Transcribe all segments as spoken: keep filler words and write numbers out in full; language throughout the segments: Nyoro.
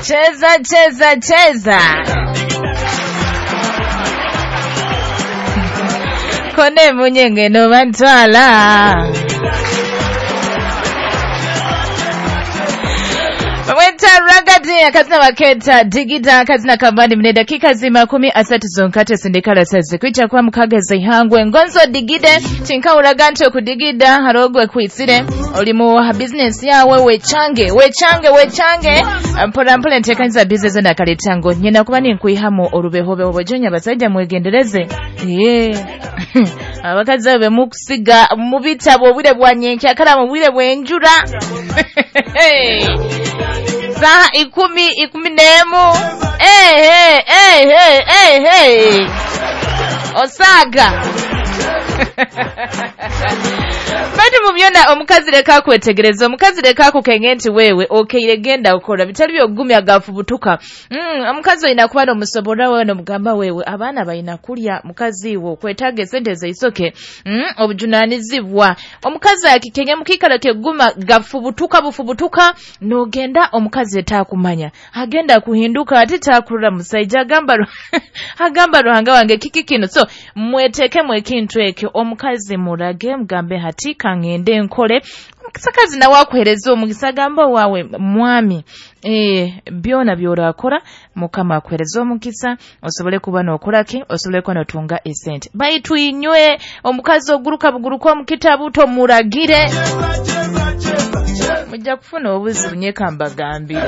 Cheza cheza cheza. Kone munyenge no bantwala. Bamweta Ragadi akazina baketa digida akazina kambani mne dakika zima kumi asatu zonkate sindikala sazi kwicha kwa mukageze ihangwe ngonzo digide tinka uraganto kudigida harogwe kuitsire olimu business yawe wechange wechange wechange mpora mpora ntekanyiza business na kaletango nyina kuba ninkuihamu orubehobe obojonya basajja mwegendereze ye abakazi abe mukusiga mu bitabo obwire bwa nyenkya kala mu bwire bwenjura. Saha ikumi ikumi nemu. Hey, hey, hey, hey, hey, hey. Osaga. Batu mubyona omukazi leka kwetegereza omukazi leka kukenge nti wewe okeire genda ukora bitali byogumya gafubutuka. Mm, omukazi oyina kuba n'omusobora wewe n'omugamba wewe abaana bayina kulya mukazi wo kwetaga sente zeisoke. Mm, obujunanizibwa omukazi akikenge mukikala keguma gafubutuka bufubutuka nogenda omukazi etakumanya agenda kuhinduka ate takurura musajja agamba agamba Ruhanga wange kiki kino. So mweteke mwekintu ekyo omukazi murage mugambe hati kangende nkole omusakazi nawe akuhereza omugisa agamba wawe mwami eh byona byorakora mukama akuhereza omugisa osobole kuba nokoraki osobole kuba notunga esente baitu inywe omukazi oguruka buguruka omukitabu tomuragire mujja kufuna obuzibu nyekambagambire.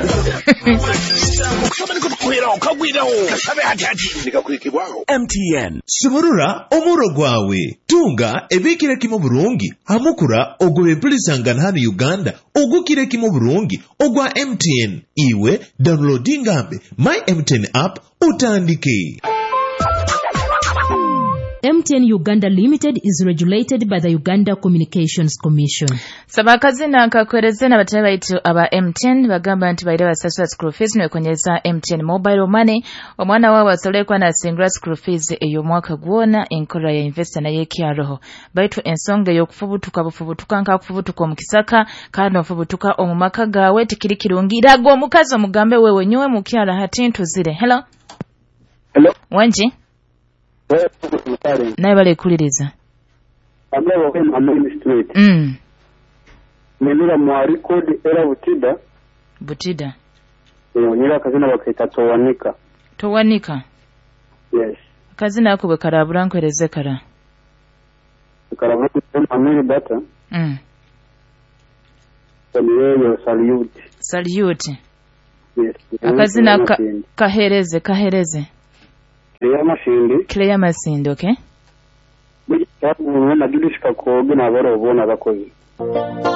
M T N sumurura omuro gwawe tunga ebikire kimu burungi hamukura ogwe empulisangana hano Uganda ogukire kimu burungi ogwa M T N iwe downloadingambe my M T N app utandike. M T N Uganda Limited is regulated by the Uganda Communications Commission. Sabakazina nkakwereze na batali baitu aba M T N bagamba nti baire basasula school fees nwekonyeza M T N mobile money omwana wawe asolekwa na singula school fees eyo mwaka gwona enkola ya investor naye kyaroho baitu ensonga y'okufubutuka bufubutuka nka kufubutuka omukisaka kandi ofubutuka omumaka gawe tikiri kirungi rago omukazi omugambe wewe nyowe mukyala hati ntuzire. Hello. Hello. Wanji naye bale kuliriza mm. Nenira mwa record era Butida Butida eh nyira kazina bakaita Towanika Towanika. Yes, kazina ako bekarabura nkwereze kara karabura amiri data mm niyo salute salute. Yes, akazina ka, kahereze kahereze Clear Masindi. Clear Masindi, okay. Mujya na Judith Kakoge na barobona bakozi.